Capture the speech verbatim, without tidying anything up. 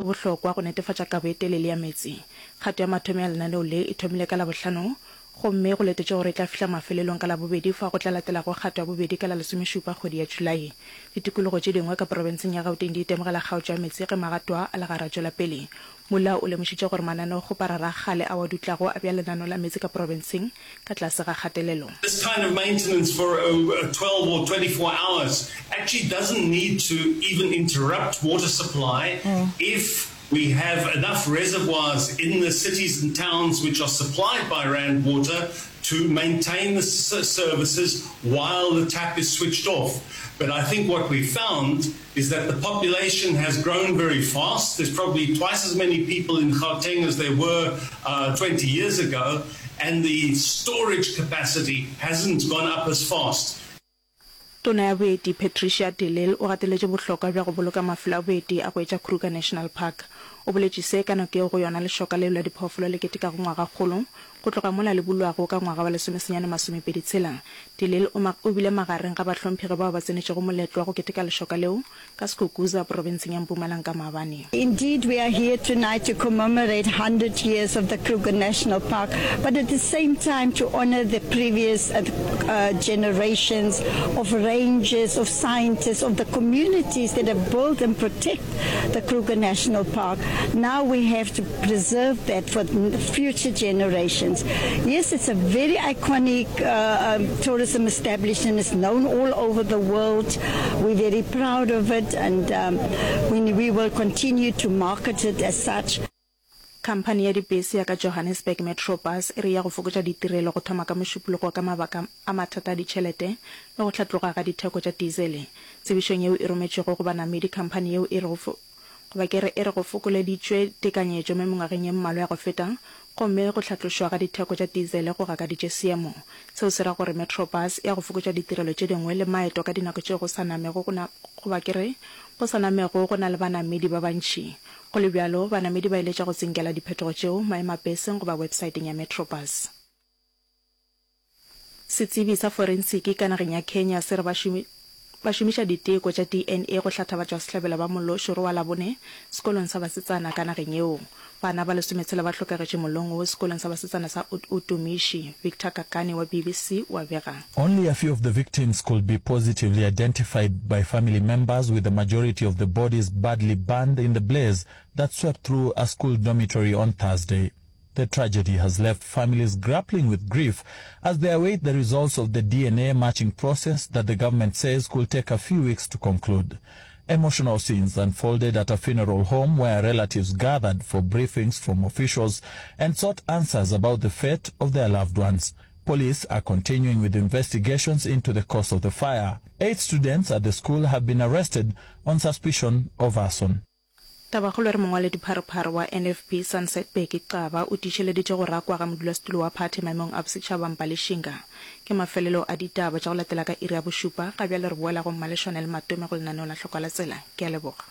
Bohlokwa go netefatša kabo e telele ya meetse. Kgato ya mathomo ya lenaneo le e thomile ka Labohlano gomme go letetšwe gore e tla fihla mafelelong ka Labobedi fao go tla latelago kgato ya bobedi ka la lesomešupa kgwedi ya Julae. Ditikologo tše dingwe ka profenseng ya Gauteng di itemogela kgaotšo ya meetse ge magato a a le gare a tšwela pele. Molao o lemošitše gore mananeokgoparara a kgale ao a dutlago a bea lenaneo la meetse ka profenseng ka tlase ga kgatelelo. This kind of maintenance for twelve or twenty-four hours actually doesn't need to even interrupt water supply if we have enough reservoirs in the cities and towns which are supplied by Rand Water to maintain the services while the tap is switched off. But I think what we found is that the population has grown very fast. There's probably twice as many people in Gauteng as there were uh, twenty years ago, and the storage capacity hasn't gone up as fast. Tona ya Boeti Patricia de Lille o gateletše bohlokwa bja go boloka mafelo a boeti a go etša Kruger National Park. O boletše se ka nako yeo go yona lešoka leo la diphoofolo le ketekago ngwagakgolo go tloga mola le bulwago ka ngwaga wa lesomesenyane masomepedi tshela. De Lille o o bile magareng ga bahlomphegi bao ba tsenetšego moletlo wa go keteka lešoka leo ka Skukuza, profenseng ya Mpumalanga maabane. Indeed, we are here tonight to commemorate hundred years of the Kruger National Park, but at the same time to honor the previous uh, generations of rangers, of scientists, of the communities that have built and protect the Kruger National Park. Now we have to preserve that for future generations. Yes, it's a very iconic uh, um, tourism establishment. It's known all over the world. We're very proud of it, and um, we, we will continue to market it as such. Khamphani ya dipese ya ka Johannesburg Metrobus e re ya go fokotša ditirelo go thoma ka Mošupologo ka mabaka a mathata a ditšhelete le go hlatloga ga ditheko tša diesele. Tsebišong yeo e rometšwego go banamedi, khamphani yeo e re go goba ke re e re go fokoleditšwe tekanyetšo mo mengwageng ye mmalwa ya go feta gomme go hlatlošwa ga ditheko tša diesele go gakaditše seemo. Seo se ra gore Metrobus e ya go fokotša ditirelo tše dingwe le maeto ka dinako tšeo go sa namego go na goba ke re go sa namego go na le banamedi ba bantši. Go le bjalo, banamedi ba eletša go tsinkela diphetogo tšeo maemapeseng goba websaeteng ya Metrobus. Setsebi sa forensiki ka nageng ya Kenya se re ba ba šomiša diteko tša D N A go hlatha batšwasehlabelo ba mollo o šoro wa Labone sekolong sa basetsana ka nageng yeo. Bana ba lesometshela ba hlokagetše mollong wo sekolong sa basetsana sa Utumishi. Victor Kakane wa B B C o a bega. Only a few of the victims could be positively identified by family members, with the majority of the bodies badly burned in the blaze that swept through a school dormitory on Thursday. The tragedy has left families grappling with grief as they await the results of the D N A matching process that the government says could take a few weeks to conclude. Emotional scenes unfolded at a funeral home where relatives gathered for briefings from officials and sought answers about the fate of their loved ones. Police are continuing with investigations into the cause of the fire. Eight students at the school have been arrested on suspicion of arson. Tabakgolo e re mongwaledipharephare wa N F P Sunset Bheki Xaba o tiišeleditše go rakwa ga modulasetulo wa phathi maemong a bosetšhaba Mbali Shinga. Ke mafelelo a ditaba tša go latela ka iri ya bošupa. Ga bjale re boela go Mmaleshwane le Matome go lenaneo la Hlokwa la Tsela. Ke a leboga.